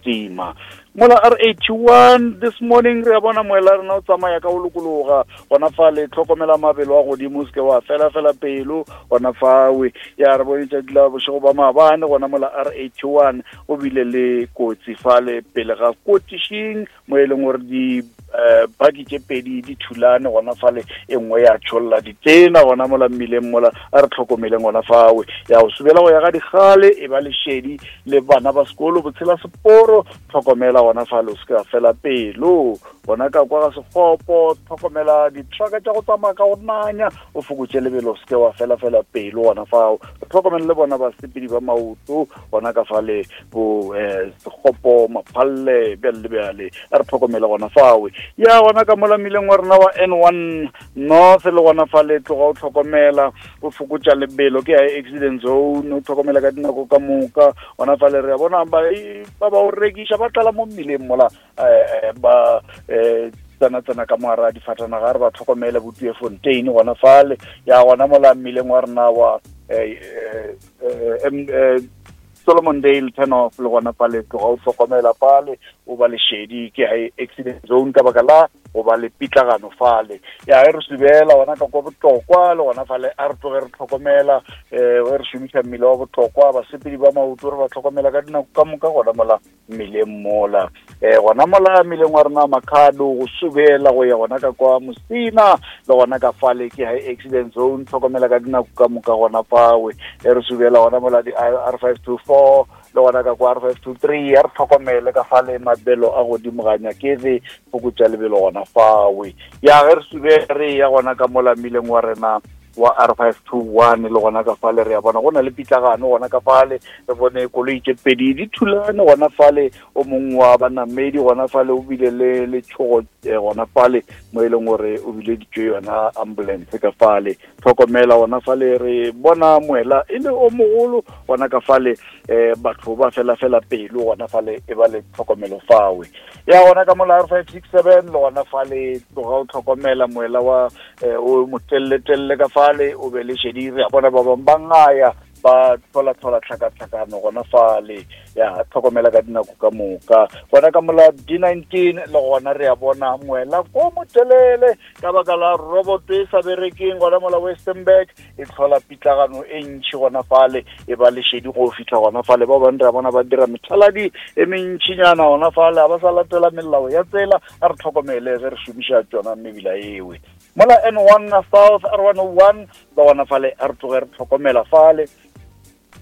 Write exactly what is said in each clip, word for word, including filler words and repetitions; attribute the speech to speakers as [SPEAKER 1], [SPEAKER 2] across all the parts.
[SPEAKER 1] kitima. Mola R eighty-one this morning re a bona moela rena o tsamaya ka go lokologa gona fale, tlhokomela mabelo a godimo, se ke wa fela fela pelo gona fawe. Ya re bone tšatši la bošego ba maabane gona mola R eighty-one o bile le kotsi fale pele ga kotišing, mo e leng gore di eh baki tše pedi di thulane gona fale, e nngwe ya tšholla ditena gona mola mmileng mola. A re tlhokomeleng gona fawe. Ya go subela go ya ga digale, e ba lešedi le bana ba sekolo botshela seporo, tlhokomela gona fale, o se ke wa fela pelo gona ka kwa ga sekgopo, tlhokomela ditrucka tša go tsamaya ka go nanya, o fokotše lebelo, o se ke wa fela fela pelo gona fao. Re tlhokomele le bona basepedi ba maoto gona ka fale bo eh sekgopo, maphalle, bjale le bjale, a re tlhokomele gona fawe. Ya gona ka mola mmileng wa rena wa N one North le gona fale, tloga o tlhokomela, o fokotša lebelo, ke ya accident zone, o tlhokomela ka dinako ka moka gona fale. Re a bona ba ba ba o rekiša ba tlala mo mmileng mola, eh ba eh tsena tsena ka moara difatanaga, re ba tlhokomele bo Tweefontein gona fale. Ya gona mola mmileng wa rena wa eh eh Solomon Dale turn off le gona fale, tloga o tlhokomela fale, o ba lešedi, ke high accident zone ka baka la go ba le pitlagano fale. Ya e re subela gona ka kwa Botlokwa le gona fale, a re tloge re tlhokomela eh re šomiša mmile wa Botlokwa, basepedi ba maoto re ba tlhokomela ka dinako ka moka gona mola mmileng mola. Eh gona mola mmileng wa rena Makhado go subela go ya gona ka kwa Musina le gona ka fale, ke high accident zone, tlhokomela ka dinako ka moka gona fawe. E re subela gona mola di R five two four le gona ka kwa R five two three, a re tlhokomele ka fale, mabelo a godimo ga nyakege, fokotša lebelo gona fawe. Ya ge re sube re ya gona ka mola mmileng wa rena wa R five two one le gona ka fale, re a bona go na le pitlagano gona ka fale, re bone koloi tše pedi di thulane gona fale, o mongwe wa banamedi gona fale o bile le letšhogo gona fale, mo e leng gore o bileditšwe yona ambulance ka fale. Tlhokomela gona fale, re bona moela e le o mogolo gona ka fale, eh batho ba fela fela pelo gona fale, e ba le tlhokomelo fawe. Ya gona ka mola R five six seven le gona fale, tloga o tlhokomela moela wa o motelletelle ka fale, o be le šedi, re a bona ba bangwe ba ngaya ba tlhola tlhola tlhakatlhakano gona fale. Ya tlhokomela ka dinako ka moka gona ka mola D nineteen le gona re a bona moela ko motelele ka baka la robot e sa berekeng gona mola Westernburg, e tlhola pitlagano e ntšhi gona fale, e ba lešedi go fihla gona fale. Ba bangwe re a bona ba dira methaladi e mentšhinyana gona fale, ga ba sa latela melao ya tsela. A re tlhokomele ge re šomiša tšona mebila ewe. Mola N one South R one oh one le gona fale, a re tloge re tlhokomela fale,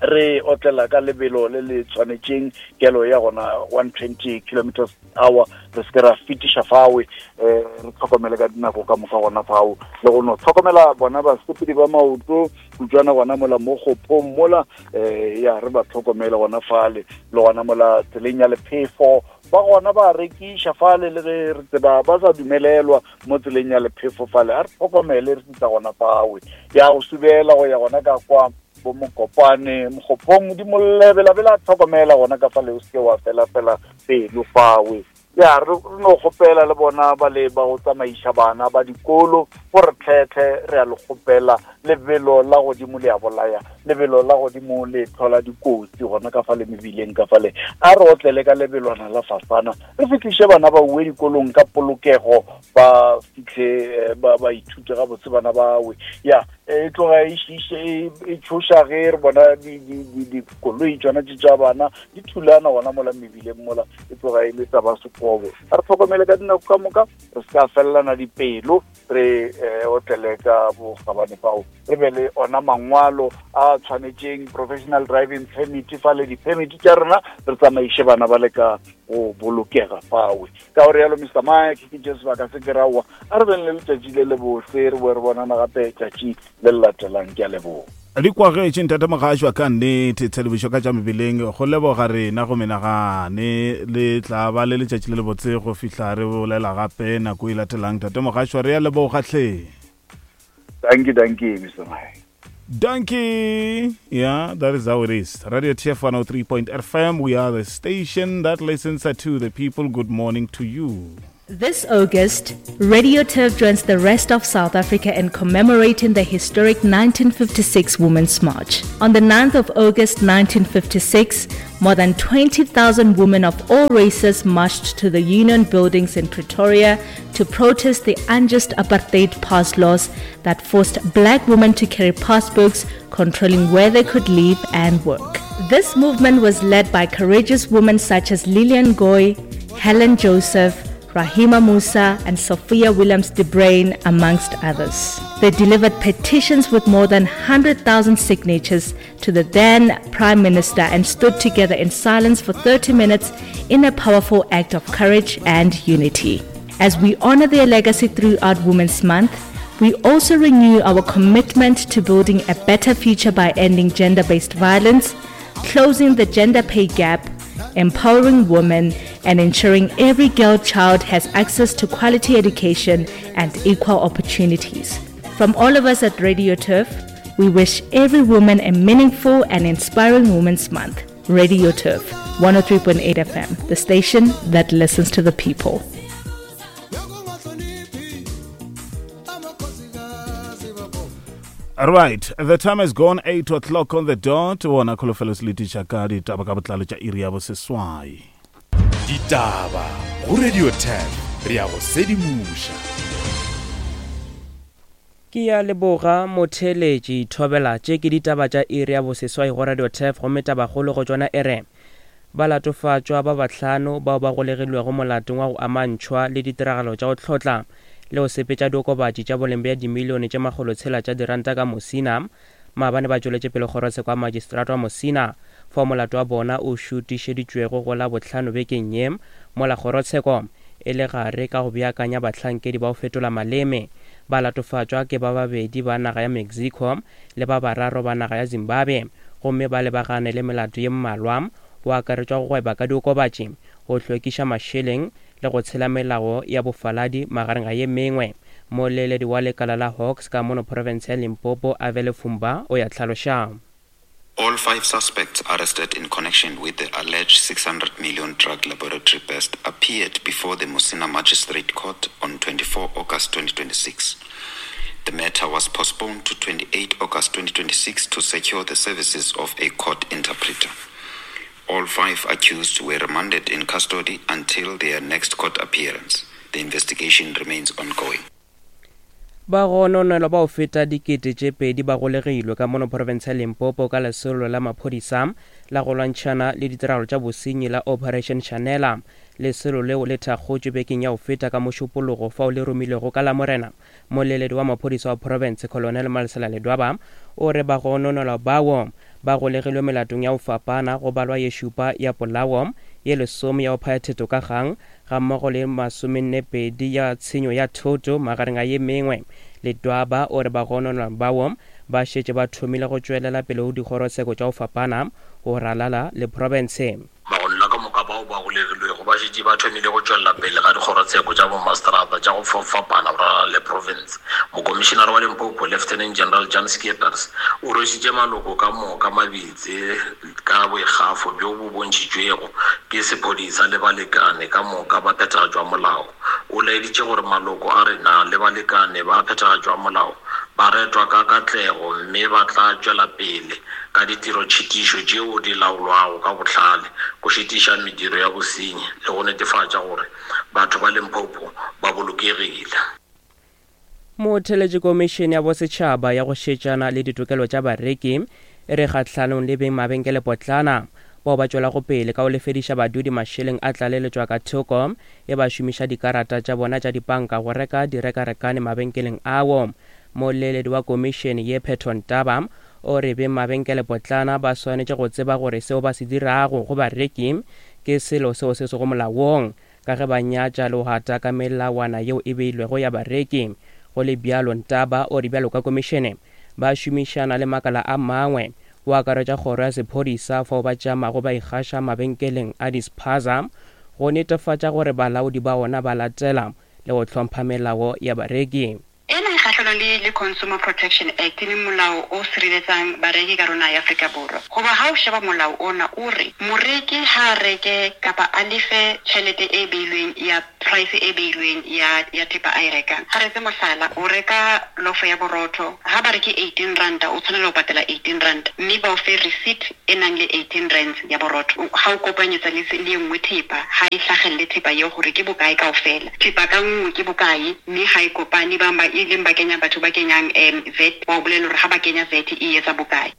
[SPEAKER 1] re otlela ka lebelo le le tshwanetšeng, kelo ya gona one twenty kilometers hour, re se ke ra fetiša fawe, eh re tlhokomele ka dinako ka moka gona fao, le go no tlhokomela bona basepedi ba maoto kutswana gona mola mo kgopong mola, eh ya re ba tlhokomele gona fale, le gona mola tseleng ya lephefo ba gona ba rekiša fale, le ge re tseba ba sa dumelelwa mo tseleng ya lephefo fale, a re tlhokomele re fihla gona fawe. Ya go subela go ya gona ka kwa bo Mokopane Mokgopong di molebelabela, tlhokomela gona ka fale, o se ke wa fela fela pelo fawe. Ya re no kgopela le bona ba le ba go tsamaiša bana ba dikolo gore tlhetlhe, re a le kgopela, lebelo la godimo le a bolaya, lebelo la godimo le tlhola dikotsi gona ka fale mebileng ka fale. A re otlele ka lebelwana la fasana, re fihliše bana ba uwe dikolong ka polokego, ba fihle ba ba ithute gabotse bana bawe. Ya e tloga e šiše e tšhoša ge re bona dikoloi tšona tše tša bana di thulana gona mola mebileng mola, e tloga e le taba sekobo. A re tlhokomele ka dinako ka moka, re se ka fellana dipelo, re otlele ka bokgabane fao, re be le ona mangwalo a tshwanetšeng, professional driving permit fale, di-permit tša rena, re tsamaiše bana ba le ka go bolokega fawe. Ka gore yalo Mister Mike, ke tše sebaka se ke raowa, a re beng le letšatši le le bose, re boe re bonana gape tšatši le le latelang. Ke a leboga.
[SPEAKER 2] Di kwagetše ntate Mogašwa ka nnete, tshedimošo ka tša mebileng, go leboga rena go menagane, le tla ba le letšatši le le botse go fihla re bolela gape nako e latelang. Ntate Mogašwa, re a leboga hle.
[SPEAKER 1] Thank you, thank you, Mister Mike.
[SPEAKER 2] Donkey. Yeah, that is how it is. Radio T F one oh three point F M. We are the station that listens to the people. Good morning to you.
[SPEAKER 3] This August, Radio Turf joins the rest of South Africa in commemorating the historic nineteen fifty-six Women's March. On the ninth of August nineteen fifty-six, more than twenty thousand women of all races marched to the Union Buildings in Pretoria to protest the unjust apartheid pass laws that forced black women to carry passbooks controlling where they could live and work. This movement was led by courageous women such as Lillian Goy, Helen Joseph, Rahima Moosa and Sophia Williams de Bruyn, amongst others. They delivered petitions with more than hundred thousand signatures to the then Prime Minister and stood together in silence for thirty minutes in a powerful act of courage and unity. As we honor their legacy throughout Women's Month, we also renew our commitment to building a better future by ending gender-based violence, closing the gender pay gap, empowering women, and ensuring every girl child has access to quality education and equal opportunities. From all of us at Radio Turf, we wish every woman a meaningful and inspiring Women's Month. Radio Turf, one oh three point eight F M, the station that listens to the people.
[SPEAKER 2] Right, the time has gone eight o'clock on the dot. Wona kholofelo se letiša ka ditaba ka botlalo tša iri ya boseswai.
[SPEAKER 4] Ditaba go Radio Turf, re ya go sedimoša.
[SPEAKER 5] Ke ya leboga motheletši thobela tše ke ditaba tša iri ya boseswai go Radio Turf, gomme tabakgolo go tšona e re balatofatšwa ba bahlano bao ba golegilwego molatong wa go amantšhwa le ditiragalo tša go hlotla le go sepetša diokobatši tša boleng bja dimilione tše makgolo tshela tša diranta ka Musina. Maabane ba tšweletše pele kgorotsheko ya magistrata wa Musina fao molato wa bona o šutišeditšwego go la bohlano bekeng ye, mola kgorotsheko e le gare ka go beakanya bahlankedi ba go fetola maleme. Balatofatšwa ke ba babedi ba naga ya Mexico le ba bararo ba naga ya Zimbabwe, gomme ba lebagane le melato ye mmalwa go akaretšwa go gweba ka diokobatši, go hlwekiša mašeleng le go tshela melao ya bofaladi magareng ga ye mengwe. Moleledi wa lekala la Hawks ka mono province ya Limpopo, Avele Fumba, o ya hlaloša.
[SPEAKER 6] All five suspects arrested in connection with the alleged six hundred million drug laboratory bust appeared before the Musina Magistrate Court on twenty-four August twenty twenty-six. The matter was postponed to twenty-eight August twenty twenty-six to secure the services of a court interpreter. All five accused were remanded in custody until their next court appearance. The investigation remains ongoing.
[SPEAKER 5] Ba gononelwa ba go feta dikete tše pedi ba golegilwe ka mono province ya Limpopo ka lesolo la maphodisa la go lwantšhana le ditiragalo tša bosenyi la Operation Shanela. Lesolo leo le thakgotšwe bekeng ya go feta ka mošupologo fao le romilwego ka Lamorena. Moleledi wa maphodisa wa province, Colonel Malesela Ledwaba, o re ba gononelwa bao ba golegilwe melatong ya go fapana go balwa ye šupa ya polao, ye lesome ya go phaya thetho ka kgang, gammogo le masomenne pedi ya tshenyo ya thoto magareng a ye mengwe. Ledwaba o re ba gononelwa bao ba šetše ba thomile go tšwelela pele go dikgorotsheko tša go fapana go ralala le province.
[SPEAKER 7] Bagononelwa ka moka bao ba golegilwego ba šetše ba thomile go tšwelela pele ga dikgorotsheko tša bomaseterata tša go fapana go ralala le province. Mokomišenare wa Limpopo, Lieutenant General Jan Skeepers, o rwešitše maloko ka moka mabitse ka boikgafo bjo bo bontšhitšwego ke sephodisa le balekane ka moka ba phethagatšo ya molao. O laeditše gore maloko a rena le balekane ba phethagatšo ya molao ba retwa ka katlego mme ba tla tšwela pele ka ditirotšhitišo tšeo di laolwago ka bohlale go šitiša mediro ya bosenyi le go netefatša gore batho ba Limpopo ba bolokegile.
[SPEAKER 5] Motheletši komišene ya bosetšhaba ya go šetšana le ditokelo tša bareki e re kgahlanong le beng mabenkelepotlana bao ba tšwelago pele ka go lefediša badudi mašeleng a tlaleletšwa ka thoko e ba šomiša dikarata tša bona tša dipanka go reka direkarekane mabenkeleng ao. Moleledi wa komišene ye Pheton Taba o re beng mabenkelepotlana ba swanetše go tseba gore seo ba se dirago go bareki ke selo seo se sego molaong ka ge ba nyatša le go gata ka melawana yeo e beilwego ya bareki. Go le bjalo, Ntaba o re bjalo ka komišene ba šomišana le makala a mangwe go akaretša kgoro ya sephodisa fao ba tšamago ba ikgaša mabenkeleng a dispaza go netefatša gore balaodi ba ona ba latela le go hlompha melao ya bareki.
[SPEAKER 8] Ena e kgahlanong lwa le le Consumer Protection Act, e leng molao o sireletsang bareki ka rona ya Afrika Borwa. Goba ha o sheba molao ona o re moreki ha a reke kapa a lefe tjhelete e beilweng ya price e beilweng ya ya thepa a e rekang. Ha re etse mohlala, o reka lofo ya borotho, ha ba re ke eighteen ranta, o tshwanela ho patala eighteen rand, mme ba o fe receipt e nang le eighteen rands ya borotho. Ha o kopanyetsa le le e nngwe thepa, ha e hlahelle thepa eo hore ke bokae kaofela. Thepa ka nngwe ke bokae, mme ha e kopane, bang ba e leng ba kenya batho ba kenyang, em, V A T, ba o bolella hore ha ba kenya V A T e etsa bokae.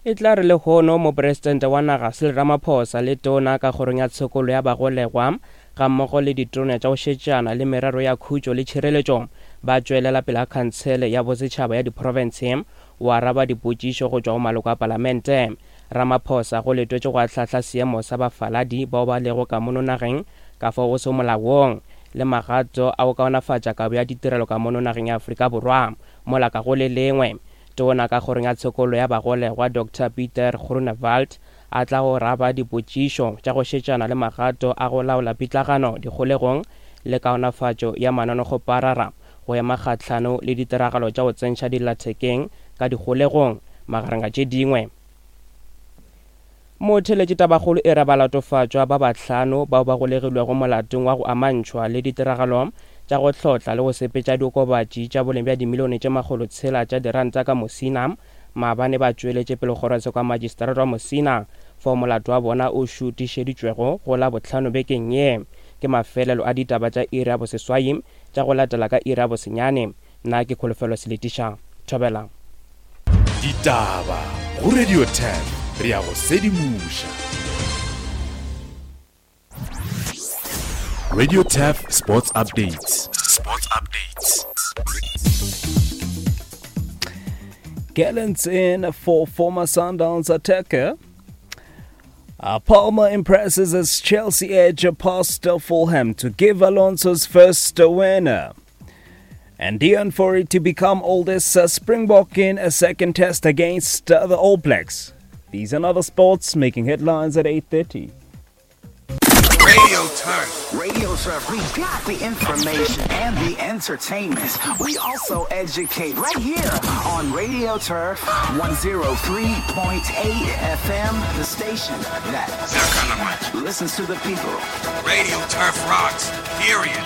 [SPEAKER 5] E tla re lehono mopresidente wa naga Cyril Ramaphosa le tona ka kgorong ya tshokolo ya bagolegwa ga mmogo le ditona tša go šetšana le merero ya khutšo le tšhireletšo ba tšwelela pele ga khansele ya bosetšhaba ya diprofense o araba dipotšišo go tšwa go maloko a palamente. Ramaphosa go letwetše go ahlahla seemo sa bafaladi bao ba lego ka mono nageng ka fao go se molaong le magato a go kaonafatša kabo ya ditirelo ka mono nageng ya Afrika Borwa. Mola ka go le lengwe, tona ka kgorong ya tshokolo ya bagolegwa Doctor Peter Groenewald a tla go raba dipotšišo tša go šetšana le magato a go laola pitlagano dikgolegong le kaonafatšo ya mananekgoparara go ema kgahlano le ditiragalo tša go tsentšha dillathekeng ka dikgolegong magareng a tše dingwe. Motheletši tabakgolo e re balatofatšwa ba bahlano bao ba golegilwego molatong wa go amantšhwa le ditiragalo tša go hlotla le go sepetša diokobatši tša boleng bja dimilione tše makgolo tshela tša diranta ka Musina maabane ba tšweletše pele kgorotsheko ya magistrata wa Musina fao molato wa bona o šutišeditšwego go la bohlano bekeng ye. Ke mafelelo a ditaba tša iri ya boseswai tša go latela ka iri ya bosenyane. Nna ke Kholofelo Seletiša. Thobela.
[SPEAKER 4] Ditaba go Radio ten, re ya go sedimoša. Radio Turf Sports Updates. Sports Updates.
[SPEAKER 9] Gallants in for former Sundowns attacker. Uh, Palmer impresses as Chelsea edge past Fulham to give Alonso's first winner. And Deon Fourie to become oldest uh, Springbok in a second test against uh, the All Blacks. These and other sports making headlines at eight thirty.
[SPEAKER 10] Radio Turf. Radio Turf. We got the information and the entertainment. We also educate right here on Radio Turf one oh three point eight F M, the station that listens to the people.
[SPEAKER 11] Radio Turf rocks, period.